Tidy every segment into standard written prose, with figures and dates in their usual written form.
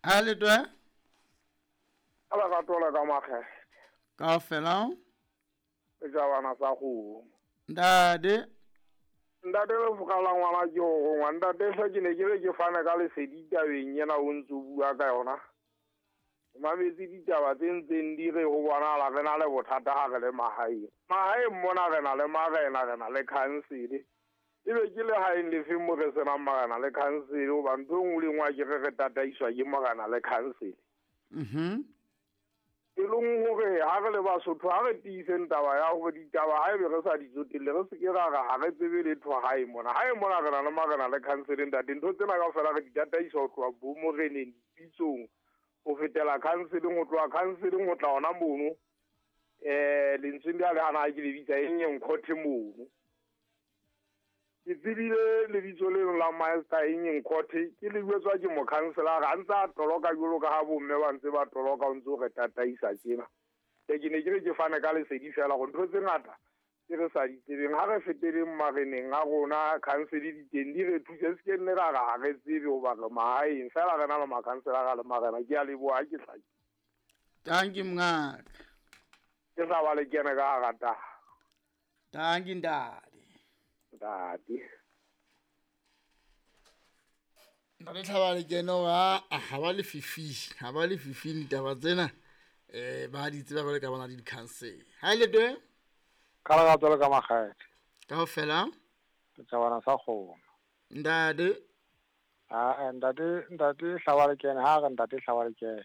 Ha le twe? Ka lerato le ka makgethe. Kaofela. Setjhabana sa kgomo. Ntate. Ntate lefoka la ngwana ke ho rongwa. Ntate hle ke ne ke re ke fane ka lesedi tabeng ena o ntso bua ka yona. O mametse ditaba tse ntseng di re ho bonahala re na le bothata ha re le mahaeng. Mahaeng mona re na le marena, re na le khansele. Ebe ke lehaeng lefeng mo re senang marena le khansele, hoba ntho e nngwe le e nngwe a ke re re tataiswa ke morena le khansele. E leng hore ha re le Basotho ha re tiiseng taba ya hore ditaba ha ebe re sa di tsotelle, re se ke ra re ha re tsebe letho hae mona. Hae mona re na le marena le khansele, ntate. Ntho tsena kaofela re di tataisa ho tloha bo moreneng, dipitsong, ho fetela khanseleng, ho tloha khanseleng ho tla hona mono. Lentsweng le hana ha ke le bitsa eng e nkhothe mono. Ke tsebile lebitso leno la Master eng e nkhothe, ke le jwetswa ke mokhanselara a ntse a toloka jwalo ka ha bomme ba ntse ba toloka, o ntse o re tataisa tjena. Ke ne ke re ke fane ka lesedi fela hore ntho tse ngata tse re sa di tsebeng ha re feteleng mareneng a rona, khansele di teng di re thuse, se ke nne ra re ha re tsebe hoba re mahaeng fela re na le makhanselara le marena. Ke a leboha, ha ke hlake. Thank you mongaka. Ke sa ba le kene ka hara taba. Thank you ntate. Ntate. Ntate Tlhaba le kene wa ha ba le fifi, ha ba le fifi ditaba tsena. Ba di tseba ba le ka bona di khansele. Ha ile teng? Ka lerato le ka makgethe. Kaofela? Setjhabana sa kgomo. Ntate. Ah, ntate, ntate Tlhaba le kene, ha re ntate Tlhaba le kene.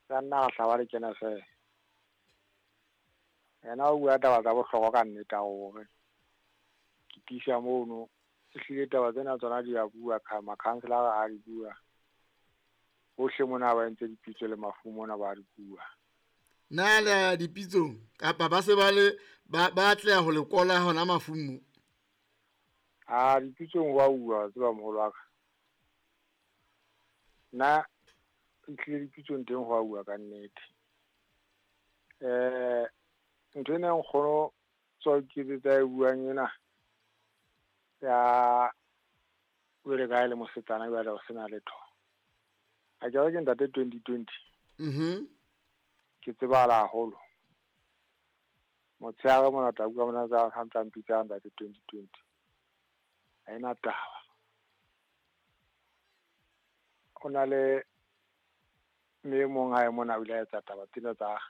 Ka nna Tlhaba le kene fela. Yena o bua taba tsa bohlokwa ka nnete hore ke tiisa mono, ehlile taba tsena tsona di a bua, makhanselara a di bua. Hohle mona ba entse dipitso le mafu mona ba di bua. Na le ya dipitsong kapa ba se ba le ba atleha ho le kola hona mafung mo? Ah, dipitsong wa bua, tseba moholo wa ka. Nna ehlile dipitsong teng ho a bua ka nnete. Ntho ena nkgono tswa ke tsa e buang ena ya jwale ka ha e le mosetsana jwale ho sena letho. Ha ke re ke ntate 2020. Ke tsebahala haholo. Motshehare mona tla bua mona tsa ha ntsa mpitsa ntate 2020. Ha ena taba. O na le mme mong hae mona o ile a etsa taba tsena tsa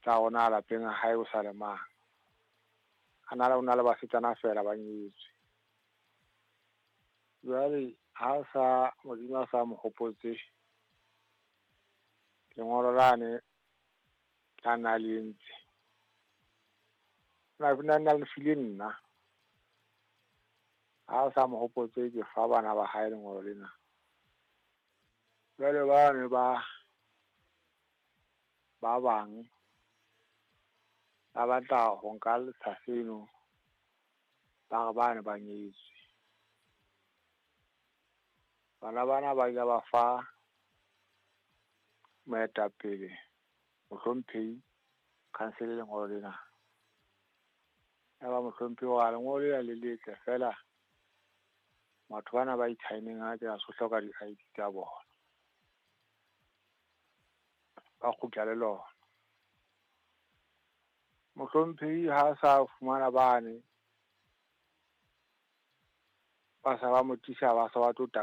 rona lapeng hae o sa le mang. A na le o na le basetsana fela ba nyetswe. Jwale ha sa Modimo a sa mo hopotse lengolo lane la na le entse. Na le file nna. Ha sa mo hopotse ke fa bana ba hae lengolo lena. Jwale ba ne ba bang ba batla ho nka letsha seno, ba re ba ne ba nyetswe. Bana bana ba ile ba fa moetapele mohlomphehi khansele lengolo lena. Ya ba mohlomphehi wa lengolo lena le letle fela batho bana ba ithaeneng ha ke a so hloka di-ID tsa bona. Ba kgutla le lona. Mohlomphehi ha sa fumana bane ba sa ba mo tlisa ba sa ba tlo